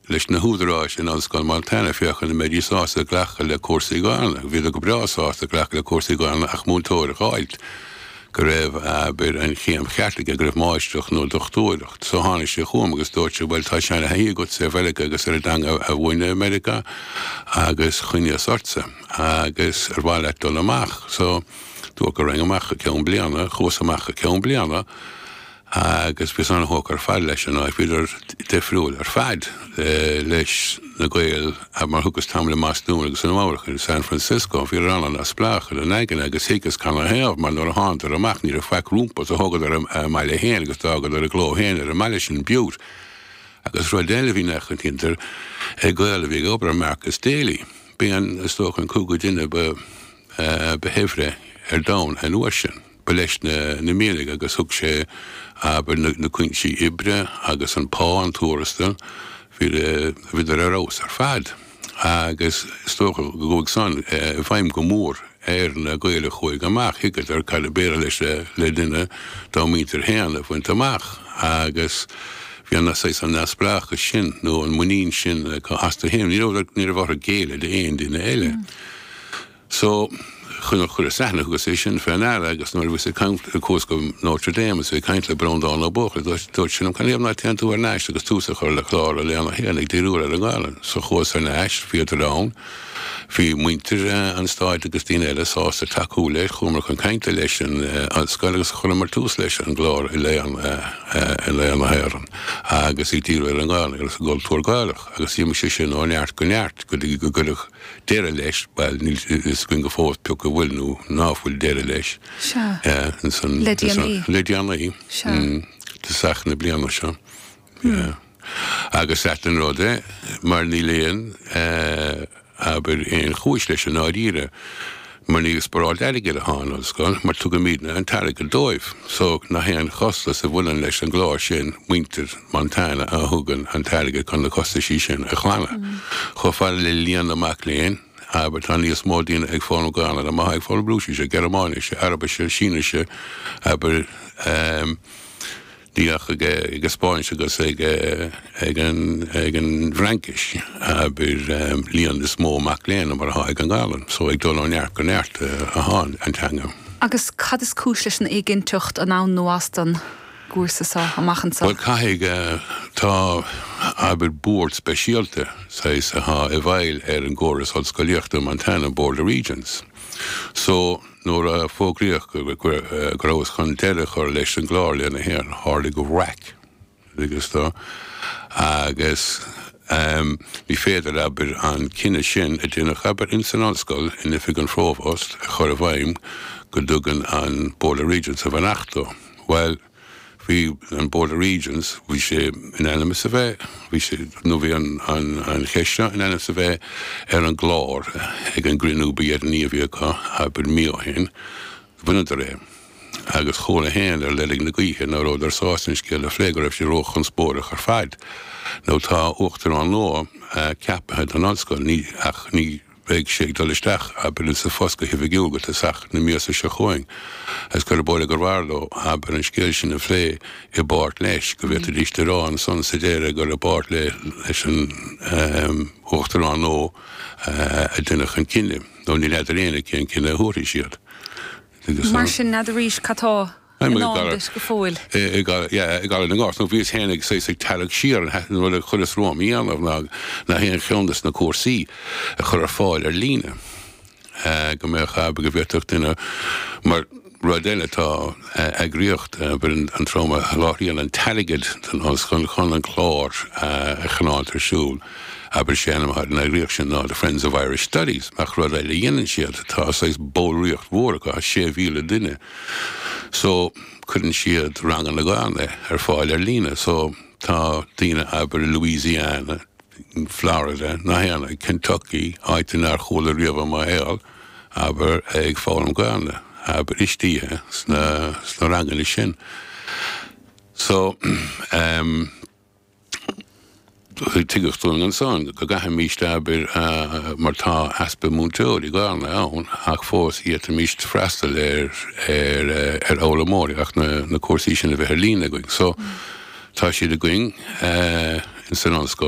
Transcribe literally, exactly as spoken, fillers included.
leis na húdaráis in Ollscoil Montana féachaint an mbeidís sásta glacadh le cúrsaí Gaelainne. Bhíodar go breá sásta glacadh le cúrsaí Gaelainne ach múinteoir a dh'fháilt go raibh abair an chéim cheart aige, go raibh máistreacht nó dochtúireacht. So tháinig sé chugam agus dúirt sé, bhuel tá seana-thaithí agatsa ar Mheiriceá agus ar an dteanga a mhúineadh i Meiriceá agus chuimhníos ortsa agus ar mhaith leat dul amach. So dúirt go raghainn amach go ceann bliana, chuas amach go ceann bliana agus bhíos an-thógtha ar fad leis an áit, bhíodar difriúil ar fad leis na Gaeil mar thugas tamall i mBostún agus i Nua-Eabhrac in San Francisco, bhíodar an-neamhspleách ina n-aigne agus thuigeas canathaobh mar nuair a thánadar amach ní raibh faic rompu so thógadar a mbaile féin agus d'fhágadar a gcló féin ar an mbaile sin, Butte. Agus rud eile a bhí neamhchoitianta ag Gaeil a bhí ag obair ar Marcus Daly, b'é an, is dócha, an cúigiú duine ba ba shaibhre ar domhan an uair sin. Ba leis na na mianaigh agus thug sé, abair, na na cúinsí oibre agus an pá, an tuarastal, bhí bhíodar ar fheabhas ar fad. Agus is dócha go gcuaigh san i bhfeidhm go mór ar na Gaeil a chuaigh amach, thuigeadar cad ab fhéidir leis le duine dá muintir féin a bhaint amach agus bhí an saghas an neamhspleáchas sin nó an muinín sin acu astu féin. Ní raibh ní raibh orthu géilleadh d'aon duine eile. So, chun chuireas aithne, thugas é sin fé ndeara agus nuair a bhíos ag caint, chuas go Notre Dame agus bhí ag caint le Breandán Ó Buachalla, dúirt, dúirt sé liom, canathaobh ná téann tú thar n-ais agus tús a chur le clár i Léann na hÉireann ag díriú ar an nGaelainn. So chuas thar n-ais, bhíodar ann, bhí muintir an stáit agus daoine eile sásta tacú leis, chuamar chun cainte leis an ollscoil agus chuireamar tús leis an gclár i Léann, i Léann na hÉireann agus ag díriú ar an nGaelainn agus an gcultúr Gaelach agus d'imigh sé sin ó neart go neart go dtí go gcuireadh deireadh leis, bhuel, níl a fhios againn go fóill pé acu bhfuil nó ná fuil deireadh leis. Sea. Ansan. Le déanaí. Le déanaí. Sea. Tosach na bliana seo. Yeah. Agus ait an rud é, mar níl aon, abair, aon chúis leis i ndáiríre, mar ní ag spáráilt airgid atá an ollscoil, mar tugaimidne an t-airgead dóibh. So, nach aon chostas a bhaineann leis an gclár sin, muintir Montana a thugann an t-airgead chun na costaisí sin a ghlanadh. Chomh fada le líon na mac léinn, abair, tá níos mó daoine ag foghlaim Gaelainne ná mar atá ag foghlaim Rúisise, Gearmáinise, Araibise, Sínise, abair, Ní ach ag an Spáinnis agus ag an bhFraincis, abair, líon is mó mac léinn ná mar atá ag an nGaelainn. So ag dul ó neart go neart atá an teanga. Agus cad is cúis leis an éiginnteacht, an ann nó as don gcúrsa seo amach anseo? Bhuel, caithfidh, tá, abair, bord speisialta, saghas, atá i bhfeighil ar an gcóras ollscolaíochta i Montana, Board of Regents. So, Nuair a fógraíodh go rabhthas chun deireadh a chur leis an gclár Léann na hÉireann, tharlaigh raic agus do agus ní féidir, abair, an cinneadh sin a deineadh, abair, ins an ollscoil, in oifig an Phróbháist, a chur i bhfeidhm go dtugann an Board of Regents a bheannacht dó. Bhuel, Bhí an Board of Regents, bhí sé in ainm is a bheith, bhí sé, nó bhí an, an, an cheist seo in ainm is a bheith ar an gclár ag an gcruinniú ba dheireanaí a bhí acu, abair, mí ó shin. Bhaineadar é. Agus chuala féin ar leilg na gaoithe ná rabhadar sásta an scéal a phlé, go raibh sé róchonspóideach ar fad. Nó tá uachtarán nua ceaptha don ollscoil, ní, ach ní, Beidh sé ag dul isteach, abair, insa phost go hoifigiúil go tosach na míosa seo chugainn, agus gurb amhlaidh gurbh fhearr leo, abair, an scéal sin a phlé i bpáirt leis, go bhféadfaidís a rá ansan sa deireadh gur i bpáirt leis an Uachtarán nua a deineadh an cinneadh, nó ní fheadar éinne cén cinneadh a thabharfaidh siad. Mar sin, n'fheadar arís cad tá i ndán duit go fóill. I gCaladh na nGort. Nó bhíos féin ag saghas ag tarrac siar an rud a chuireas romham a dhéanamh ná ná haon cheann des na cúrsaí a chur ar fáil ar líne. Go mbeadh, abair, go bhféadfadh duine, mar rud eile tá eagraíocht, abair, an trom a sholáthraíonn an t-airgead don ollscoil chun an clár a choinneáilt ar siúl. Abair, sé ainm atá ar an eagraíocht sin ná The Friends of Irish Studies, ach rud eile a dhéanann siad, tá saghas ballraíocht mhór acu, sé mhíle duine, so cuireann siad ranganna Gaelainne ar fáil ar líne, so tá daoine, abair, i Louisiana, Florida, na haon, Kentucky, áit nár chuala riamh i mo shaol, abair, ag foghlaim Gaelainne, abair, istigh sna, sna ranganna sin. So, ehm. Tuigeadh dúinn ansan go gcaithfimíst, abair, mar tá easpa múinteoirí Gaelainne ann, ach fós d'fhéadfaimíst freastal ar ar fhoghlaimeoirí ach na cúrsaí sin a bheith ar líne againn. So, tá siad againn ins an ollscoil.